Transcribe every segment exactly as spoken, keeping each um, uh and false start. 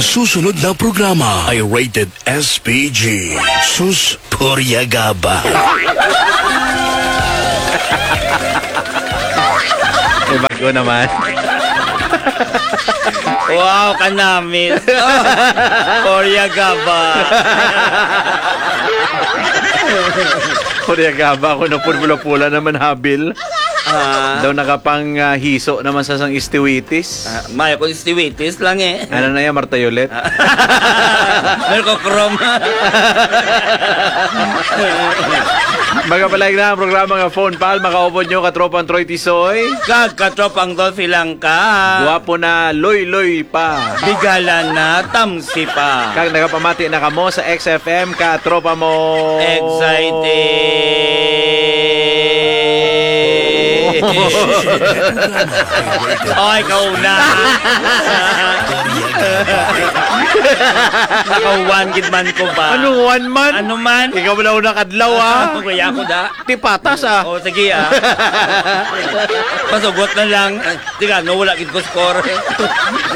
Susunod na programa ay rated S P G. Sus, Purya Gaba. May bago naman. Wow, kanamis. Oh, Purya Gaba. Purya Gaba, ako na pula-pula naman habil. Ah. Daw nakapang, ah, hiso naman sa sang istiwitis. Ah, may ako istiwitis lang eh. Ano na yan, Martayolet? Ah. Mercochrome. Magapalag na ang programa nga Phone Pal. Makaupod nyo, katropang Troy Tisoy. Kag katropang Dolphy Langka. Guwapo na, loy-loy pa. Bigala na, tamsi pa. Kag nagapamati na kamo sa X F M, katropa mo. Excited. Oh, ikaw na. Naka-one gid man ko ba? Ano, one man? Ano man? Ikaw wala una kadlaw, ah. Kuya ko da. Ti patas, ah. Oh, sige, ah. Pasugot na lang. Di ka, no, wala gid ko score.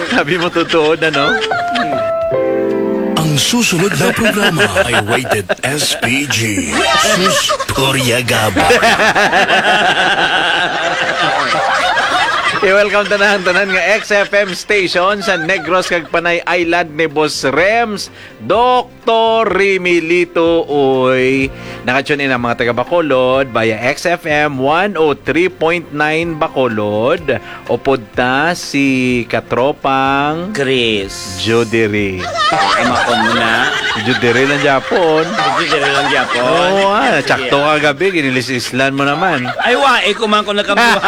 Sabi mo, totoo na, no? Ang susunod na programa ay rated S P G. Sus, Purya Gaba. I-welcome tanan, tanan nga X F M station sa Negros kag Panay Island ni Boss Rems. Doktor Remilito, uy. Naka-tune in ang mga taga Bacolod via X F M one oh three point nine Bacolod. Upod ta si katropang Chris. Judery. Ama ko muna. Si Judery lang Japon. Si Judery lang Japon. Oo, ah, Sige. Tsakto ka gabi, ginilis-islan mo naman. Ay, wa, eh, kuman ko nagkabuhan.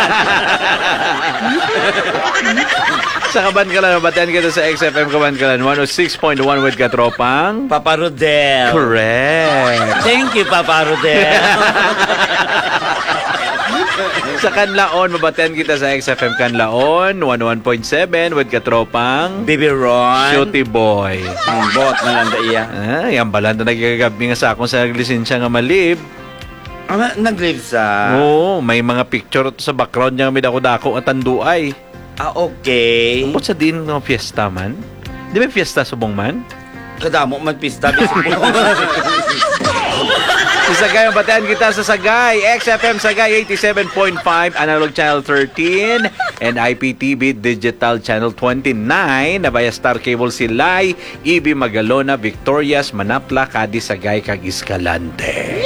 Sa Kabankalan, mabatian kita sa X F M Kabankalan, one oh six point one with katropang Papa Rodel. Correct. Thank you, Papa Rodel. Sa Kanlaon, mabatian kita sa X F M Kanlaon, one oh one point seven with katropang Baby Ron. Shooty Boy. Hmm, buot na lang da iya. Ah, yan pala na nagkakagabing nga sa akong sa lisensya nga malib. Ah, nag-live sa? Oo, may mga picture to sa background niya, may dako-dako nga tanduay. Ah, okay. Ambot sa diin nga fiesta man? Di may fiesta subong man? Kadamo man pista, bispo. Sa Sagay, mabatian kita sa Sagay. X F M Sagay, eighty-seven point five, Analog Channel thirteen, and I P T V Digital Channel twenty-nine. Na via Star Cable, Silay, Ibi, Magalona, Victorias, Manapla, Cadiz, Sagay, kag Escalante.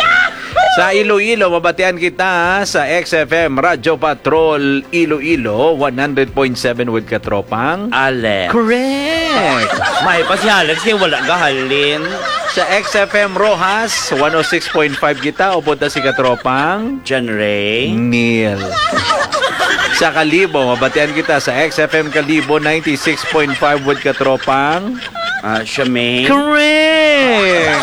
Sa Iloilo, mabatian kita sa X F M Radyo Patrol Iloilo, one hundred point seven with katropang Alex. Correct. May pa si Alex kay wala gahalin. Sa X F M Roxas, one oh six point five kita, upod ta si katropang John Ray. Neil. Sa Kalibo, mabatian kita sa X F M Kalibo, ninety-six point five with katropang Ah, Charmaine. Correct!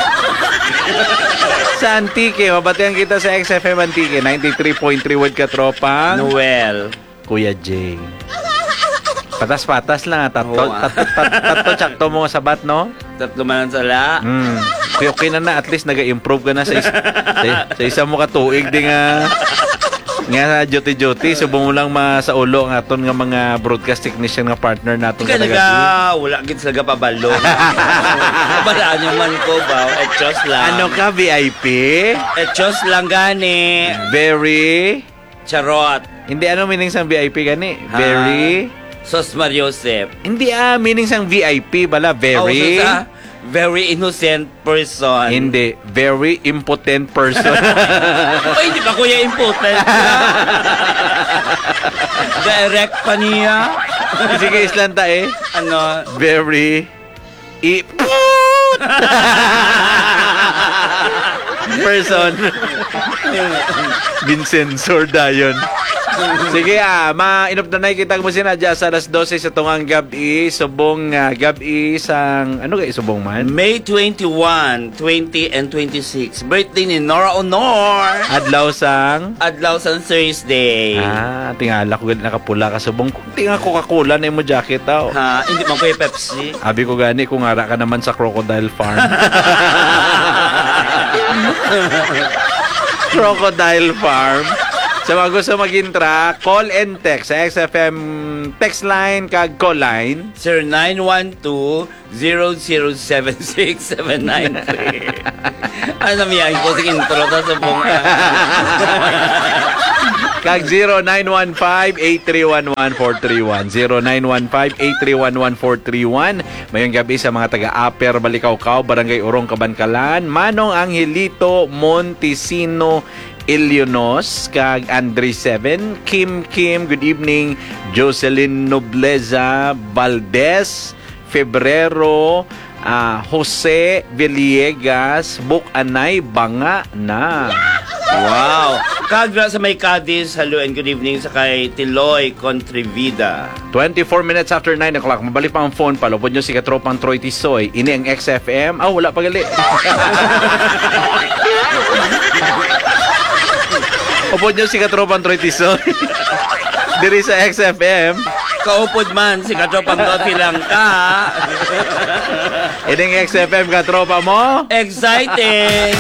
Sa Antique, mabatian kita sa X F M Antique, ninety-three point three with katropang Noel. Kuya Jay. Patas-patas lang, ah. Tatlo, Oo, ah. tat-, tat-, tatlo, tsakto mo nga sabat, no? Tatlo man ang sala. Hmm. Okay, okay na na. At least, nag-improve ka na sa, is-, sa, sa isa mo ka tuig di nga, nga duty-duty. Subong mo lang ma-, sa ulo ang aton nga mga broadcast technician nga partner naton. Kaya kada naga, gabi. Wala gid sila gapabalo. Balaan nyo man ko ba? Etos lang. Ano ka, V I P? Etos lang gani. Very? Charot. Hindi, ano meaning sang V I P gani? Ha? Very? Sos Mariosep. Hindi, ah, meaning sang V I P bala, very? Oh, so sa very innocent person. Hindi, very impotent person. Oy, di ba, kuya, impotent? Direct pa niya. Sige, islanta eh. Ano? Very i-, person. Ginsensor dayon. Sige, ah, mainupdanay kita mo sina dya sa alas dose sa tungang gab-i, subong, ah, gab-i sang, ano kay subong man? May twenty-one, twenty, and twenty-six. Birthday ni Nora Honor. Adlaw sang? Adlaw sang Thursday. Ah, tingala ko gali nakapula ka subong. Kunti nga Coca-Cola na imo jacket, aw. Ha, hindi man ko yung Pepsi. Abi ko gani kung ara ka naman sa Crocodile Farm. Crocodile Farm. Sa mga gusto mag-intra, call and text sa X F M text line kag call line. Zero nine one two, zero zero seven six seven nine three. Ano, miyahin ko sa intro, ta subong. Kag zero nine one five, eight three one one, four three one. Zero nine one five, eight three one one, four three one. Mayong gabi sa mga taga Upper Balikawkaw, Barangay Urong, Kabankalan. Manong Angelito Montesino Ilionos, kag Andre Seven. Kim Kim, good evening. Jocelyn Nobleza Valdez, Febrero, ah, Jose Villegas, Buk-anay, banga na. Wow. Kag na sa may Cadiz, hello and good evening sa kay Tiloy Contrevida. Twenty-four minutes after nine o'clock. Mabalik pa ang phone, palupod nyo si Katropang Troy Tisoy. Ini ang X F M. Ah, wala pa gali. Upod nyo si Katropang Troy Tisoy. Diri sa X F M. Kaupod man si Katropang Doti lang ka. Ining X F M, katropa mo. Exciting.